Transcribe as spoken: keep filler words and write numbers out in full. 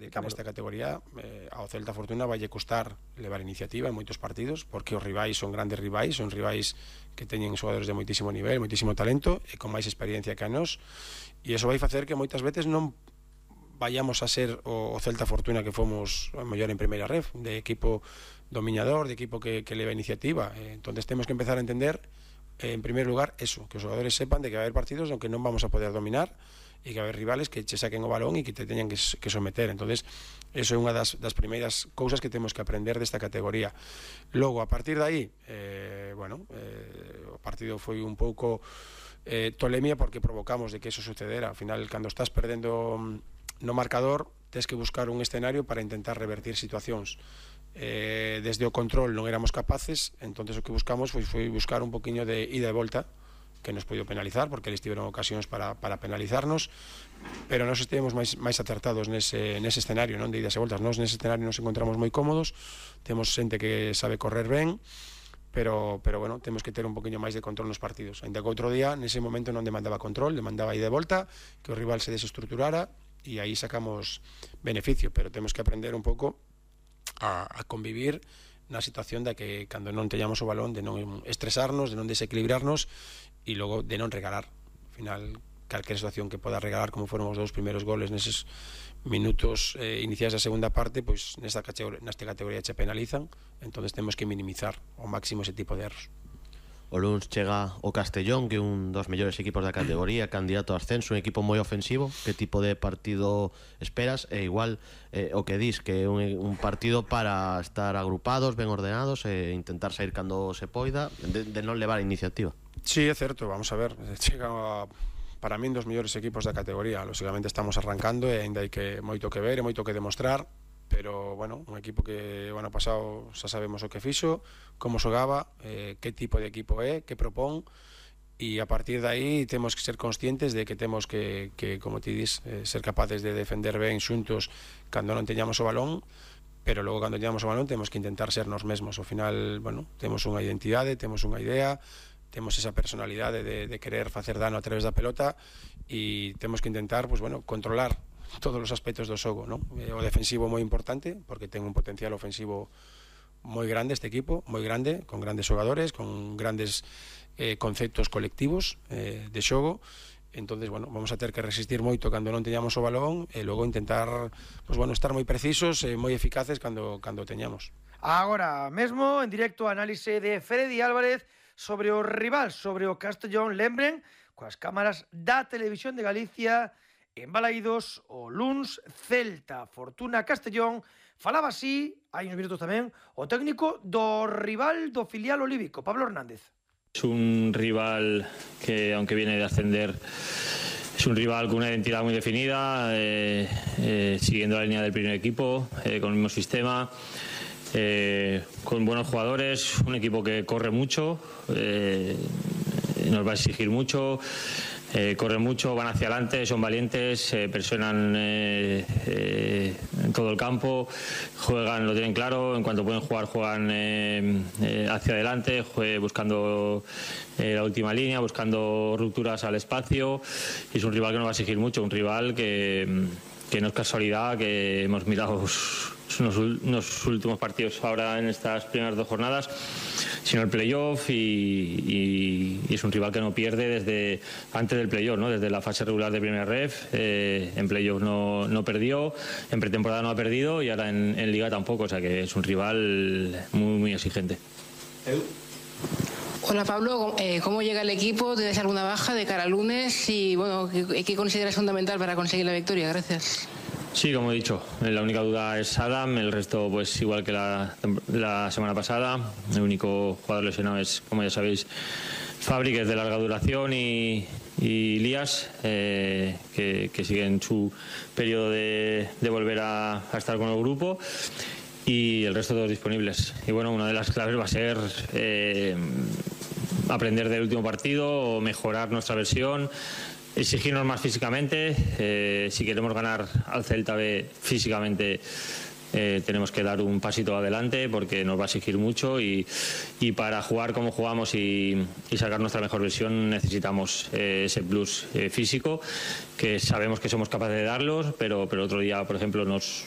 decir que nesta categoría eh, ao Celta Fortuna vai costar levar iniciativa en moitos partidos, porque os rivais son grandes rivais, son rivais que teñen xogadores de moitísimo nivel, moitísimo talento e con máis experiencia que a nós, e iso vai facer que moitas veces non vayamos a ser o, o Celta Fortuna que fomos a mellor en primeira ref, de equipo dominador, de equipo que, que leva iniciativa. Eh, entonces temos que empezar a entender eh, en primer lugar eso, que os xogadores sepan de que vai haber partidos no que non vamos a poder dominar e que vai haber rivales que che saquen o balón e que te teñan que, que someter. Entonces eso é unha das, das primeiras cousas que temos que aprender desta categoría. Logo, a partir de aí eh, bueno, eh, o partido foi un pouco eh, tolemia porque provocamos de que eso sucedera. Ao final, cando estás perdendo no marcador, tes que buscar un escenario para intentar revertir situacións. Eh, desde o control non éramos capaces, entonces o que buscamos foi, foi buscar un poquinho de ida e volta, que nos podido penalizar, porque eles tiveron ocasións para, para penalizarnos, pero nós estivemos máis, máis acertados nese, nese escenario, non de idas e voltas. Nós nese escenario nos encontramos moi cómodos, temos xente que sabe correr ben, pero, pero bueno, temos que ter un poquinho máis de control nos partidos. Ainda que outro día, nese momento non demandaba control, demandaba ida e volta, que o rival se desestruturara, e aí sacamos beneficio, pero temos que aprender un pouco a, a convivir na situación de que cando non teñamos o balón de non estresarnos, de non desequilibrarnos e logo de non regalar. Ao final, calquera situación que poda regalar, como foron os dous primeiros goles neses minutos eh, iniciais da segunda parte, pois nesta categoría, nesta categoría che penalizan, entonces temos que minimizar ao máximo ese tipo de erros. O luns chega o Castellón, que é un dos mellores equipos da categoría, candidato a ascenso, un equipo moi ofensivo. Que tipo de partido esperas? E igual eh, o que dis, que é un, un partido para estar agrupados, ben ordenados e intentar sair cando se poida, de, de non levar a iniciativa. Sí, é certo, vamos a ver, chega a, para min dos mellores equipos da categoría. Lógicamente estamos arrancando e ainda hai que moito que ver e moito que demostrar, pero, bueno, un equipo que o ano pasado xa sabemos o que fixo, como xogaba, eh, que tipo de equipo é, que propón, e a partir de aí temos que ser conscientes de que temos que, que como ti dis, eh, ser capaces de defender ben xuntos cando non teñamos o balón, pero logo cando teñamos o balón temos que intentar ser nos mesmos. Ao final, bueno, temos unha identidade, temos unha idea, temos esa personalidade de, de querer facer dano a través da pelota e temos que intentar, pues, bueno, controlar todos os aspectos do xogo, ¿no? O defensivo moi importante, porque ten un potencial ofensivo moi grande este equipo, moi grande, con grandes xogadores, con grandes eh, conceptos colectivos eh, de xogo. Entonces, bueno, vamos a ter que resistir moito cando non teñamos o balón e logo intentar, pues, bueno, estar moi precisos e moi eficaces cando, cando teñamos. Agora mesmo, en directo, análise de Freddy Álvarez sobre o rival, sobre o Castellón. Lembren, coas cámaras da Televisión de Galicia, en Balaídos, o luns, Celta Fortuna Castellón. Falaba así, hai uns minutos tamén, o técnico do rival do filial olívico, Pablo Hernández. Es un rival que, aunque viene de ascender, es un rival con una identidad muy definida, eh, eh, siguiendo la línea del primer equipo, eh, con el mismo sistema, eh, con buenos jugadores, un equipo que corre mucho, eh, nos va a exigir mucho. Eh, corren mucho, van hacia adelante, son valientes, eh, presionan eh, eh, en todo el campo, juegan, lo tienen claro, en cuanto pueden jugar, juegan eh, eh, hacia adelante, juegue, buscando eh, la última línea, buscando rupturas al espacio, y es un rival que nos va a exigir mucho, un rival que, que no es casualidad que hemos mirado unos, unos últimos partidos ahora en estas primeras dos jornadas, sino el playoff, y, y, y es un rival que no pierde desde antes del playoff, ¿no? Desde la fase regular de primera ref, eh, en playoff no, no perdió, en pretemporada no ha perdido y ahora en, en liga tampoco, o sea que es un rival muy, muy exigente. Hola Pablo, eh, ¿cómo llega el equipo? ¿Tienes alguna baja de cara al lunes? Y bueno, ¿qué, qué consideras fundamental para conseguir la victoria? Gracias. Sí, como he dicho, la única duda es Adam, el resto pues igual que la, la semana pasada. El único jugador lesionado es, como ya sabéis, Fabri, que es de larga duración, y, y Lías, eh, que, que sigue en su periodo de, de volver a, a estar con el grupo, y el resto todos disponibles. Y bueno, una de las claves va a ser eh, aprender del último partido, mejorar nuestra versión, exigirnos más físicamente. Eh, si queremos ganar al Celta B físicamente, eh, tenemos que dar un pasito adelante, porque nos va a exigir mucho, y, y para jugar como jugamos y, y sacar nuestra mejor versión necesitamos eh, ese plus eh, físico, que sabemos que somos capaces de darlos, pero, pero otro día, por ejemplo, nos,